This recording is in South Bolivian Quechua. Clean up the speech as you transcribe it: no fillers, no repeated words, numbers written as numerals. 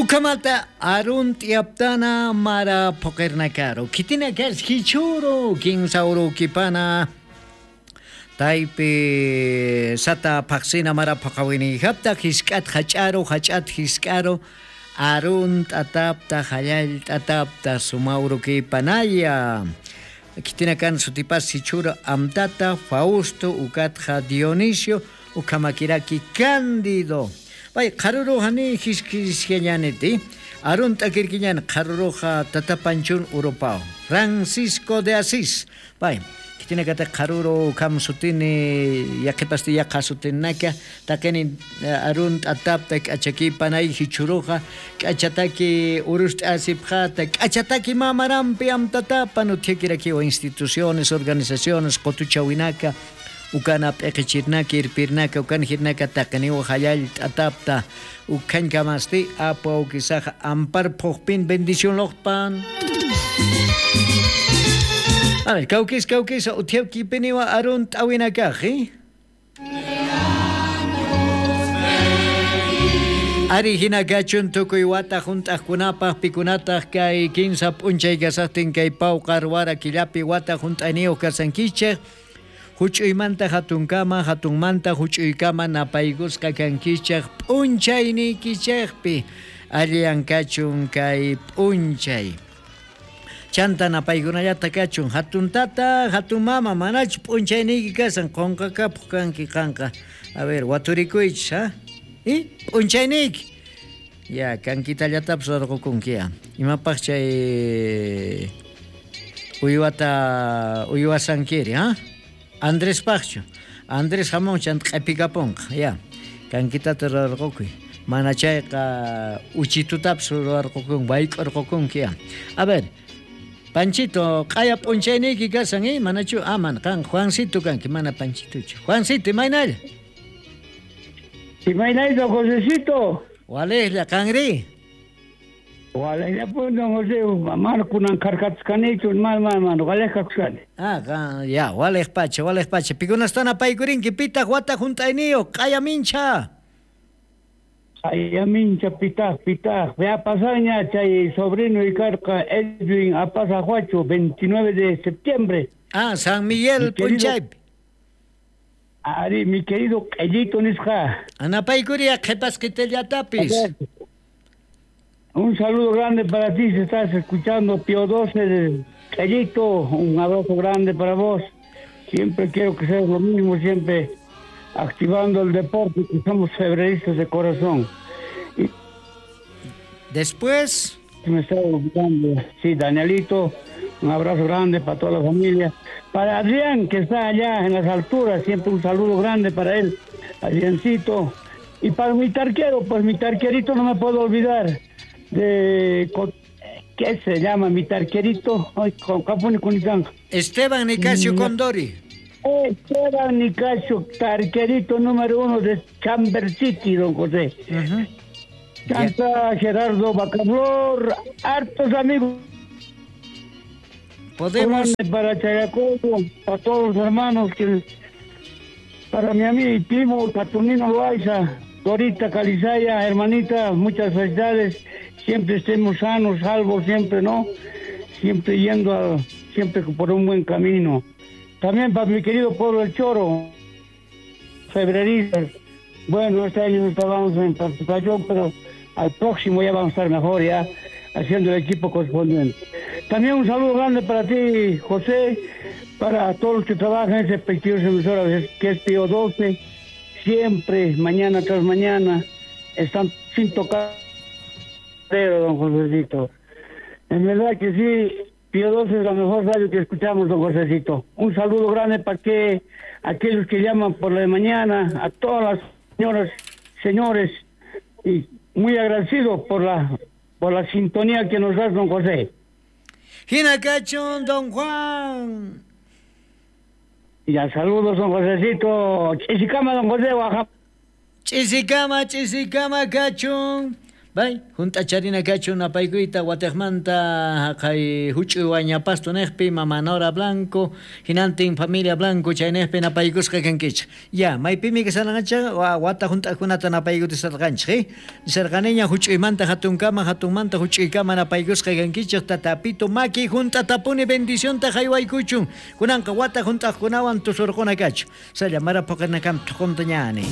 Ukamata arun tiaptana mara poqernakaro. Kitina kas hichuro kinsaurukipana. Taypi sata paqsina mara paqawinijapta hisk'at hach'aro hach'at hisk'aro arun t'atapta hallal t'atapta sumawrukipanaya. Kitina kan sutipas hichuro amtata Fausto ukatja Dionisio ukamakiraki Cándido. Pay qharuruja ni hisk'isqallaniti arun t'akirkiñani qharuruja tatapanchun urupao Francisco de Asís. Pay kitinakata qharuru kam sutini yaqipasti yaqa sutinaka taqini arun t'atapta k'achakipanay hichuruja k'achataki urust'asipjata k'achataki mamarampi amtatapa nuthiakirakiwa instituciones organizaciones qotuchawinaka ukana p'eqichirnaka irpirnaka ukana hirnaka taqiniwa hallall t'atapta ukhankamasti apu awkisaja ampar phuqpin bendición loqpan. A ver, kawkis kawkis uthiawkipiniwa arun t'awinakaj, ¿eh? Ari hina kachun tukuy wata hunt'aqkunapaq pikunataq kay kinsa p'unchay kasaqtin kay pawqar wara killapi wata hunt'ayniyuq kasankichej. Huch'uymanta hatunkama, hatunmanta huch'uykama napaykusqa kankichej p'unchayniykichejpi alliyan kachun kay p'unchay. Chanta napaykunallata kachun hatun tata, hatun mama, manachu p'unchayniyki kasan qunqakapuq kanki qanqa. A ver, waturikuychis, ha? ¿Y? P'unchayniyki. Ya, kankitallatapas rurqukunki ya. Imapaq chay uywata uywasankiri, ha? Andrés Paqchu. Andrés jamón chanta q'ipikapunqa, ya. Kankitata rurqukuy. Mana chayqa uchitutapas rurqukunki, wayk'urqukunki, ya. A ver, Panchito, q'aya p'unchayniyki kasan, ¿eh? Manachu, ah, mana, qan Juancito kanki, mana Panchituchu. Juancito, imaynalla? Imaynayta, Josecito? Walejlla, qanri? Walejlla pun, don José, mana kunan karkatkanichu, mana, mana, mana, walej kakushkani. Ah, qan, ya, walej pacha, walej pacha. Pikunastana paykurinki, pitaq wata hunt'ayniyuq, q'aya mincha. Q'aya mincha, pitaq, pitaq. Ya pasaña chay sobrino y karqa Edwin Apaza Huacho, 29 de septiembre. Ah, San Miguel p'unchaypi. Ari, mi querido Q'ellito nisqa. Anapaykuria qhipasqitillatapis. Un saludo grande para ti, si estás escuchando Pío 12 de Q'ellito, un abrazo grande para vos. Siempre quiero que seas lo mismo, siempre activando el deporte, que somos febreristas de corazón. Y después me está olvidando. Sí, Danielito, un abrazo grande para toda la familia. Para Adrián, que está allá en las alturas, siempre un saludo grande para él, Adriancito. Y para mi tarquero, pues mi tarquerito no me puedo olvidar. De ¿qué se llama mi tarquerito? Ay, con con Esteban Nicasio Condori. Esteban Nicasio, tarquerito número 1 de Chamber City, don José. Uh-huh. Canta Gerardo Bacaflor, hartos amigos. Podemos. Para Chayacobo, para todos los hermanos, que, para mi amigo y primo Saturnino Loaiza, Dorita Calizaya, hermanita, muchas felicidades. Siempre estemos sanos, salvos, siempre, ¿no? Siempre yendo, siempre por un buen camino. También para mi querido pueblo El Choro, febreristas. Bueno, este año no estábamos en participación, pero al próximo ya vamos a estar mejor, ya, haciendo el equipo correspondiente. También un saludo grande para ti, José, para todos los que trabajan en ese prestigioso emisora que es Pío 12, siempre, mañana tras mañana, están sin tocar, pero, don Josecito. En verdad que sí, Pío 12 es la mejor radio que escuchamos, don Josecito. Un saludo grande para que aquellos que llaman por la de mañana, a todas las señoras, señores, y muy agradecido por la sintonía que nos das, don José. Hinakachun, don Juan. Ya, saludos, don Josecito. Chisicama, don José, Oaxaca. Chisicama, chisicama, cachun. Bay, junt'acharina kachun napaykuyta watejmanta jaqay juch'uy wañapasto nejpi mama Nora Blanco, hinantin familia Blanco chaynejpi napaykusqa kankichej. Ya, maypimi kasharqanchej wata junt'ajkunata napaykutisarqanchej, eh? Nisarqaniña juch'uymanta jatunkama, jatunmanta juch'uykama napaykusqa kankichej, tatapito maki junt'atapuni bendicionta jaywaykuchun. Kunanqa wata junt'ajkunawan tusurquna kachun. Salla mara phoqinakam thuqunta ñani.